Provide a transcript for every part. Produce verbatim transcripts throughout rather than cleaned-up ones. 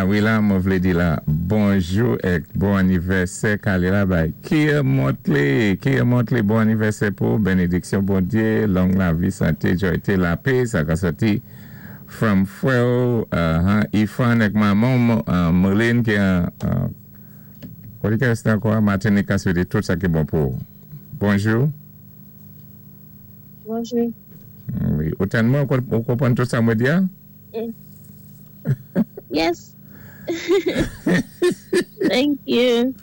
Wi la, mwen vlé di la, bonjou èk bon anivèsè ka lé la bay Kia Motley, Kia Motley, bon anivèsè pou benediksyon Bondyé, long lavi, santé, jwayté, lapè, sa ka sòti from frè ou, uh, Ifan èk manman, uh, Merlin ki an, uh, koté ki rèsté ankò, Martinique ka swété tout sa ki bon pou. Bonjou. Bonjou. Wi, ou tann mwen, ou konpwann tout sa mwen di a? Yes. Thank you.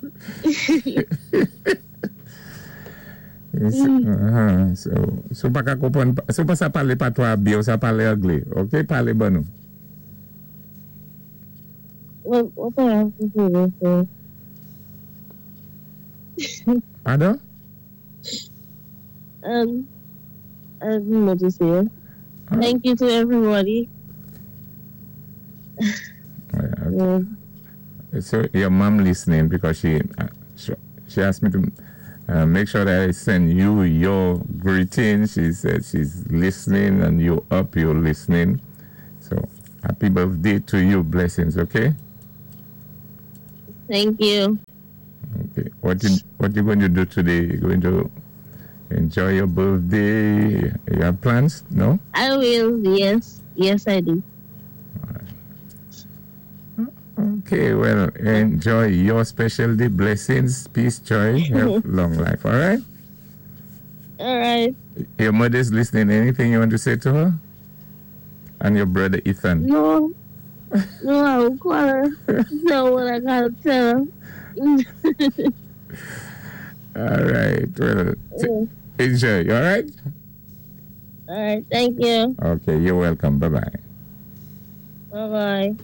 Uh-huh. So, si ou pa ka konpwann, si ou pa sa palé patwa byen, ou sa palé anglé, ok? Palé ban nou. What, what do I have to do this for? Padon? Um, I don't know what to say. Thank you to everybody. Yeah, okay. So your mom listening because she uh, she, she asked me to uh, make sure that I send you your greeting. She said she's listening and you up, you're listening. So happy birthday to you. Blessings, okay? Thank you. Okay. What you what you going to do today? You going to enjoy your birthday? You have plans? No? I will, yes. Yes, I do. Okay, well, enjoy your special day. Blessings, peace, joy, health, long life. All right? All right. Your mother's listening. Anything you want to say to her? And your brother Ethan? No. No, I will call her. Tell what I gotta tell her. All right. Well, t- enjoy. All right? All right. Thank you. Okay, you're welcome. Bye bye. Bye bye.